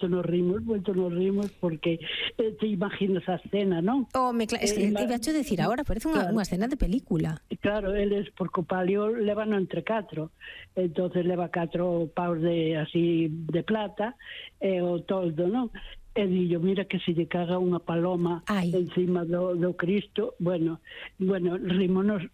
moito nos rimos, porque te imaginas a escena, non? Iba a decir agora, parece unha escena de película. Claro, eles, porque o palio levano entre 4, entonces leva 4 paus de plata, e o toldo, non? E dillo, mira que se lle caga unha paloma encima do Cristo, bueno, rímonos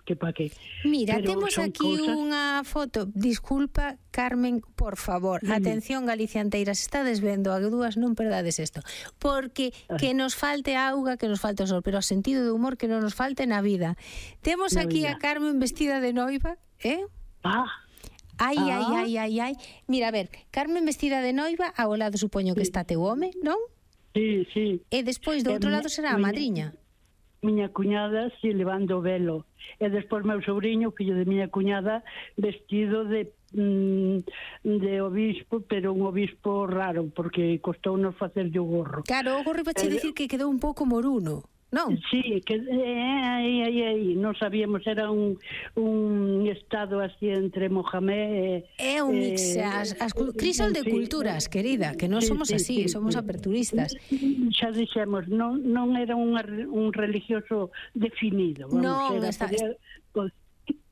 que pa que. Mira, temos aquí unha foto, disculpa, Carmen, por favor, atención galicianteiras, estades vendo a dúas, non perdades isto, porque que nos falte auga, que nos falte o sol, pero o sentido de humor que non nos falte na vida. Temos aquí a Carmen vestida de noiva, Ai. Mira, a ver, Carmen vestida de noiva, ao lado supoño que está teu home, non? Sí. E despois do outro lado será a madriña. Miña cuñada, si, levando o velo. E despois meu sobrinho, fillo de miña cuñada, vestido de obispo, pero un obispo raro, porque costounos facerlle o gorro. Claro, o gorro iba a dicir que quedou un pouco moruno. Non? Sí, que aí non sabíamos, era un estado así entre Mohamed é un mix, crisol de culturas, querida, que non somos así, somos aperturistas. Xa dixemos, non era un religioso definido, non,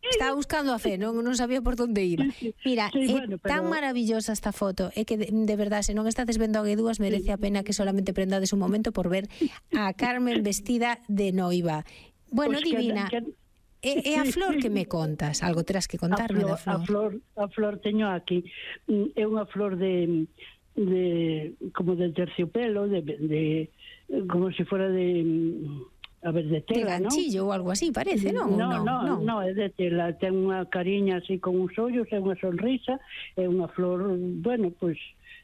estaba buscando a fe, non sabía por onde iba. Mira, tan maravillosa esta foto, é que de verdade, se non estades vendo a Guedúas, merece a pena que solamente prendades un momento por ver a Carmen vestida de noiva. Bueno, divina. E a flor que me contas? Algo terás que contarme da flor. A flor teño aquí. É unha flor de como de terciopelo, de como se fora de tela, de ganchillo ou algo así, parece, non? Non, é de tela, ten unha cariña así con uns ollos, é unha sonrisa, é unha flor, bueno, pois,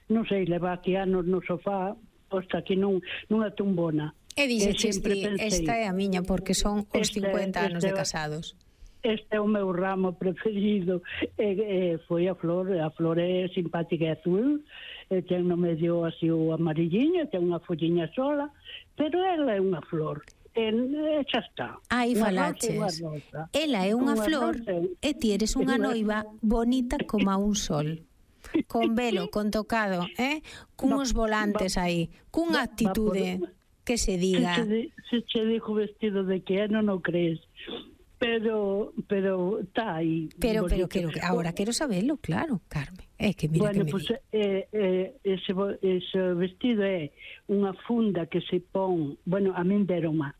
non sei, leva aquí anos no sofá, posta aquí nunha tumbona. E dixeches ti, esta é a miña, porque son os 50 anos de casados. Este é o meu ramo preferido, foi a flor é simpática e azul, ten no medio así o amarilliño, ten unha folliña sola, pero ela é unha flor. Xa está. Aí falaches. Ela é unha flor e ti eres unha noiva bonita como a un sol. Con velo, con tocado, cunhos volantes aí, cunha actitude que se diga. Se che dijo vestido de que non o crees. Pero está aí. Pero ahora quero sabelo, claro, Carmen. É que mira que me pues, ese vestido é unha funda que se pon, bueno, a min deroma,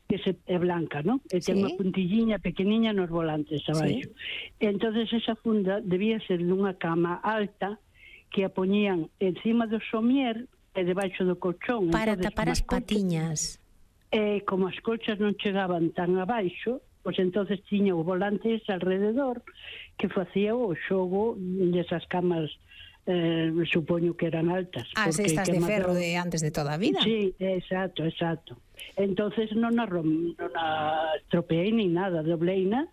que é blanca, ¿no? E ten unha puntilliña pequeniña nos volantes abaixo. Entonces esa funda debía ser dunha cama alta que a poñían encima do somier e debaixo do colchón. Para tapar as patiñas. Como as colchas non chegaban tan abaixo, pois entonces tiña o volantes alrededor que facía o xogo desas camas, supoño que eran altas. As estas de ferro de antes de toda a vida. Sí, exacto. Entonces non a estropeei ni nada, dobleina,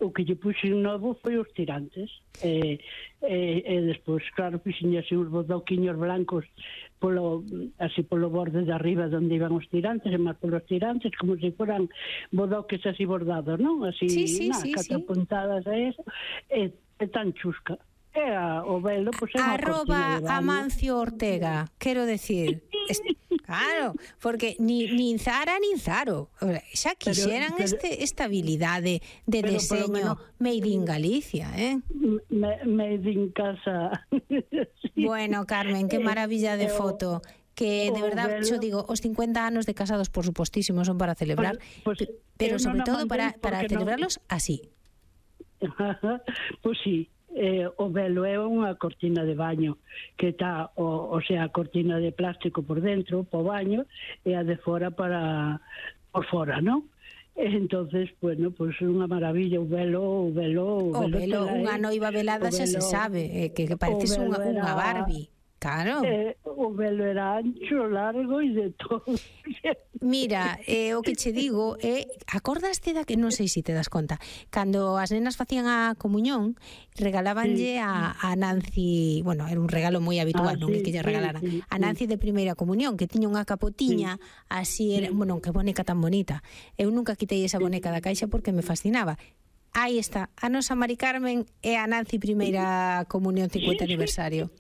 o que lle puxen novo foi os tirantes, e despois, claro, puxen así uns bodoquiños blancos así polo borde de arriba onde iban os tirantes, e máis polos tirantes, como se foran bodoques así bordados, non? Así, catro puntadas a eso, e tan chusca. O velo, pois é unha cortina de baño. Amancio Ortega, quero decir, claro, porque nin Zara nin Zaro, xa quixeran esta habilidade de deseño made in Galicia, made in casa. Bueno, Carmen, que maravilla de foto, que de verdad, yo digo, os 50 anos de casados, por supostísimo, son para celebrar, pero sobre todo para celebrarlos así. Pois sí. O velo é unha cortina de baño que está, o sea, a cortina de plástico por dentro, po baño, e a de fora por fora, non? Entonces, bueno, pues unha maravilla o velo, unha noiva velada xa se sabe, que pareces unha Barbie. Claro. O velo era ancho, largo e de todo. Mira, o que che digo acordaste da que non sei se te das conta, cando as nenas facían a comuñón, regalábanlle a Nancy, bueno, era un regalo moi habitual, non é que lle regalaran, a Nancy de primeira comunión, que tiña unha capotiña, así era, bueno, que boneca tan bonita. Eu nunca quitei esa boneca da caixa porque me fascinaba. Aí está, a nosa Mari Carmen e a Nancy primeira comunión 50 aniversario.